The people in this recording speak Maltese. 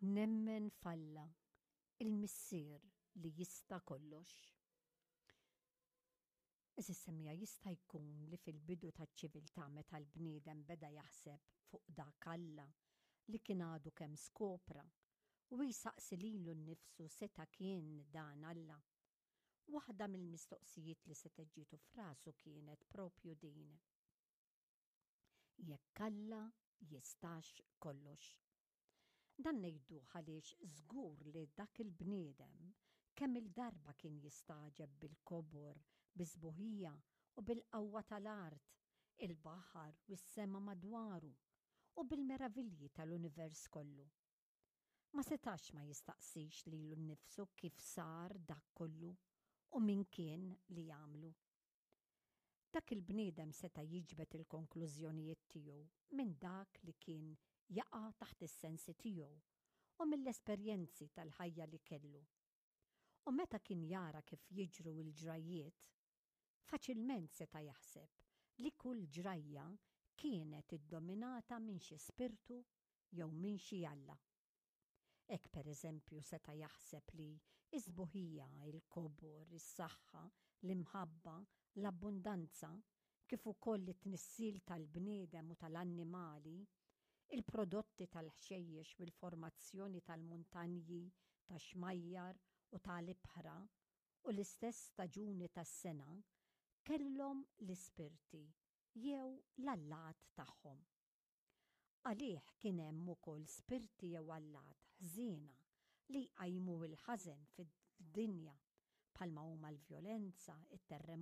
Nemmen f'Alla, il-Missier li jista' kollox. Għeżież semmiegħa, jista' jkun li fil-bidu taċ-ċiviltà meta l-bniedem beda jaħseb fuq dak Alla li kien għadu kemm skopra u jsaqsi lilu nnifsu seta' kien dan Alla. Waħda mill-mistoqsijiet li setgħet ġietu f'rasu kienet propju din. Jekk Alla jistax kollox. Dan ngħiduh għaliex żgur li dak il-bniedem kemm-il darba kien jistagħġeb bil-kobor, bis-sbuħija u bil-qawwa tal-art, il-baħar u s-sema madwaru, u bil-meravilji tal-univers kollu. Ma setax ma jistaqsix lilu nnifsu kif sar dak kollu u min kien li għamlu. Dak il-bniedem seta' jiġbed il-konklużjonijiet tiegħu minn dak li kien jaqa' taħt is-sensi tiegħu u mill-esperjenzi tal-ħajja li kellu. U meta kien jara kif jiġru l-ġrajjiet, faċilment seta' jaħseb li kull ġrajja kienet iddominata minn xi spirtu jew minn xi alla. Hekk pereżempju seta' jaħseb li s-sbuħija, il-kobor, is-saħħa, l-imħabba, l-abbundanza, kif ukoll it-tnissil tal-bniedem u tal-annimali, il-prodotti tal-ħxejjex u l-formazzjoni tal-muntanji, tax-xmajjar u ta' l-ibħra, u l-istess staġuni tas-sena, kellhom l-ispirti jew l-allat tagħhom. Għalih kien hemm ukoll spirti jew allat ħżiena li jqajmu l-ħażen fid-dinja, bħalma huma l-vjolenza, it-terremoti.